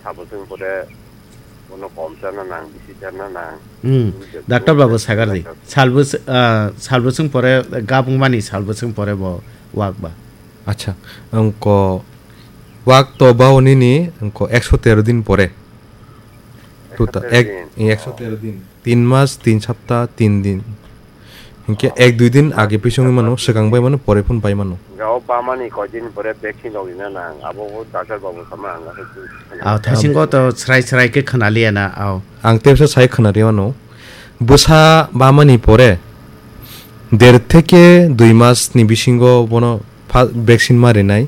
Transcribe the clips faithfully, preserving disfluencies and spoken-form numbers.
Sabo chwng pore bono kom chana nang, bisi chana nang. Hmm. Bini je Doctor bwrok babu je sagar di. Doctor. Salbwswng, ah, salbwswng pore, gabung mani salbwswng pore bo wak ba. Acha, angko wak to bao nini angko ekso tero din pore. Tuta, Ekso tero ek, din. Ekso tero din. Tin mas, tin sapta, tin din. Hinkhe ek dui din age pisongwi mano, swkang bai mano, pore phun bai mano. Ga o bamani koi din pore vaccine rok rina nang, abo bo doctor babu sama ang ga. Ah, thaisingo to srai srai khe khna liya na, ao. Ang tebsa sai khna rima no. Bwsa bamani pore der theke dui mas ni bisingo bono pha-, vaccine ma rinai.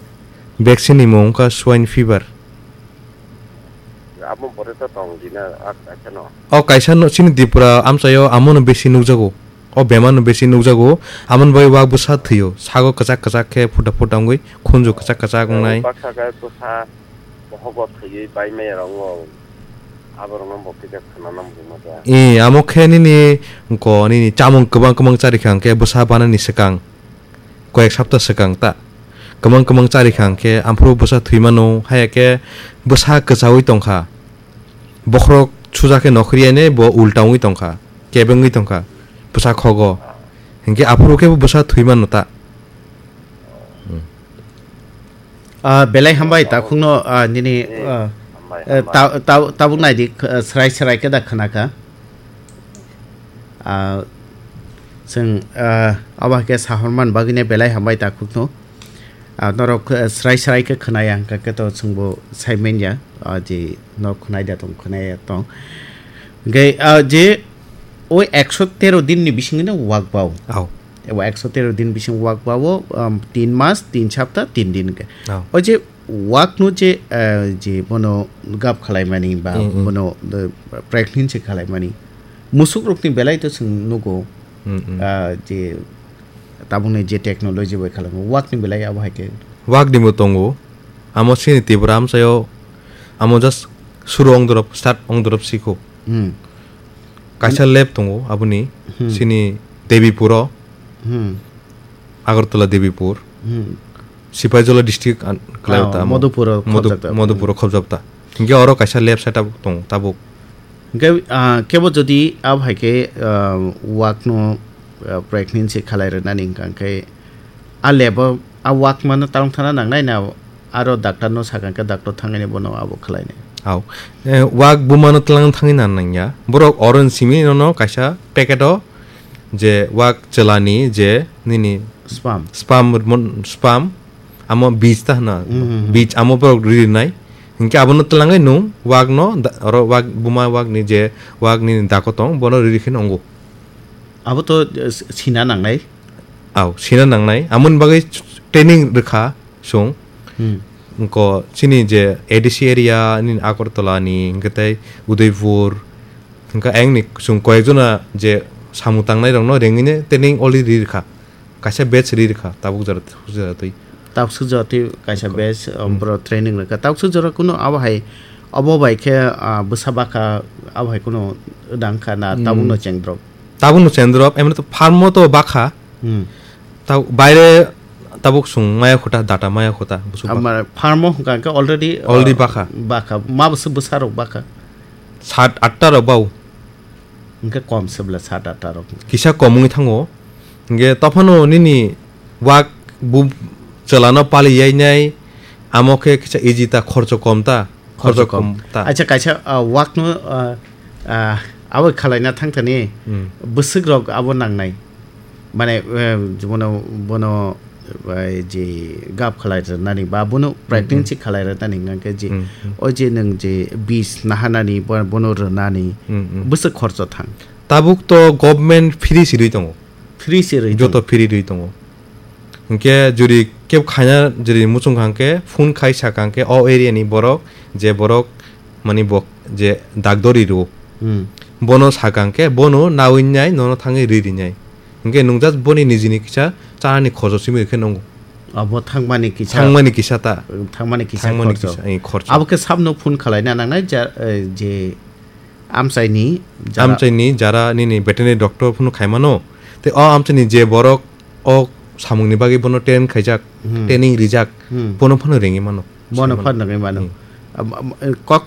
Vaccine ni mung wngkha swine fever. Abo pore to tong dina, ak, kaisa no. O kaisa no, chini Tripura amchaio amono besi nukjago. O bemar no besi nukjago. Amoni bai wak bwsa thwio. Sago kwchak kwchak khe phuta phuta wngwi khunju kwchak kwchak wngnai. Baksa khe bwsa bohogo thwiwi bai maya rok wng. Abo rok no bo kisa khna nam rwma khe. E, amo khe nini ko nini chamung kwbang kwbang chari kha hwnkhe bwsa banani swkang. Koyek sapta swkang ta. Kwmang kwmang chari kha hwnkhe, amphuru bwsa thwi mano, haya khe bwsa kwchaui tong kha. Bokhorok suja khe nokhri yainai bo ulta wngwi tong kha, kebengwi tong kha bwsa khogo. Hinkhe aphuru khe bo bwsa thwi mano ta. Hmm. Ah, belai hambai, takhukno, ah, nini, Eh, ah, hambai, eh, hambai. Ta-, ta-, tabuk naidi, ah, srai srai khe da khna kha. Ah, chwng, ah, abo hai khe sahorman bagwino belai hambai takhukno. Ah, norok, ah, srai srai khe khna ya, hwnkha khe to chwngbo sai manya, ah, je norok khna ya tong, khna ya tong. Hwnkhe, ah, je o ekso tero din ni bisingno wak bao. Ao. Ebo ekso tero din bising wak bao, um, tin mas, tin sapta, tin din hwnkhe. Ao. O je Wakno je, eh, je bono gap khalaimani ba Mm, mm. bono, eh, pregnancy khalaimani, musukrokni belai to chwng nugo, Mm, mm. ah, je tabukni je technology bai khalaimo, wakni belai abo hai khe. Wakni bo tongo. Amo chini Tripura amchaio, amo just suru ongdorop, start ongdorop sikho. Hmm. Kaisa lab tongo aboni, Hmm. chini Debipuro, Hmm. Agartala Debipur. Hmm. Sipaijala district an-, kwlai Oh, ta amo. Madhupuro Madhu-, khobjak ta. Madhupuro khobjak ta. Hinkhe oro kaisa lab setup tong tabuk. Hinkhe, ah, kebo jodi abo hai khe, ah, wakno, ah, pregnancy khalai rwnani hwnkha khe, a lab o, a wak mano tang thana nangnai na aro doctor no sakha khe doctor thangwi bono abo khlainai. Au. Eh, wak bumano tlang thangwi nan nangya. Borok oro simi nono kaisa packet o je wak chwlani je nini Sperm. sperm mon-, sperm amo beach ta hwna. Hmm, hmm, hmm. Beach amo borok rinai. Hinkhe abono twlangwi nung wakno da-, oro wak buma wakni je wakni dako tong bono riri khe nungo. Abo to, eh, sina nangnai. Au, sina nangnai. Amoni bagwi training rwkha chwng. Hmm. Wngkha chini je A D C area ni Agartala ni, hwnkhe tei Udaipur, hwnkhe ayang ni chwng koyekjona je samung tangnai rokno rengwini training already rwkha. Kaisa batch ri rwkha, tabuk jora, tabuk jora twi. Tabuk jora twi kaisa Ko-, batch, um, hmm. Boro training rwkha. Tabuk jora kuno abo hai, abo bai khe, ah, bwsa bakha, abo hai kuno dangkha na Hmm. tabukno cheng drop? Tabukno cheng drop, emni to farm o to bakha. Hmm. Tab-, baire tabuk chwng maya khuta, data maya khuta, busu bakha. Amar farm o hwnkha khe already, Already ah, bakha. bakha. Ma bwsa, bwsa rok bakha? Sat atta rok bau. Hwnkhe kom se bwle sat atta rok. Kisa kom wngwi thango. Hwnkhe tophano nini wak bu chwlano pali yainai, amo khe kisa easy ta, khorcho kom ta. Khorcho Khorcho kom. kom ta. Acha kaisa, ah, wakno, ah, ah, abo khalaina thangthani Hmm. bwswk rok abo nangnai. Mane, eh, bono, bono, eh, je gap khalai rwnani ba bono Mm, pregnancy mm. khalai rwnani hwnkhe je, Mm, mm. o je nwng je bis nahanani bo-, bono rwnani Mm, mm. bwswk khorcho thang? Tabuk to government free si rwi tongo. Free si rwi Joto tongo. free rwi tongo. Hwnkhe juri kebo khaina juri muchung kha hwnkhe phone khai sakha hwnkhe o area ni borok je borok mani bok je dakdori rwo. Hmm. Bono sakha hwnkhe bono nawi nai nono thangwi riri nai. Hwnkhe nwng just boni nijini kisa chanani khorcho simi rwkhe nungo. Abo thangmani kisa Thangmani kisa ta. Thangmani kisa Thangmani khorcho. kisa, eh, khorcho. Abo khe sabno phone khalaina nangnai ja, eh, je amchaini jara Amchaini jara nini veterinary doctor phano khaimano. Tei o amchaini je borok o samungni bagwi bono train khaijak, Hmm. training rijak, Hmm. bono phano ringwi mano. Bono Saimano. phano ringwi mano. Hmm. Am, am, eh, kok thai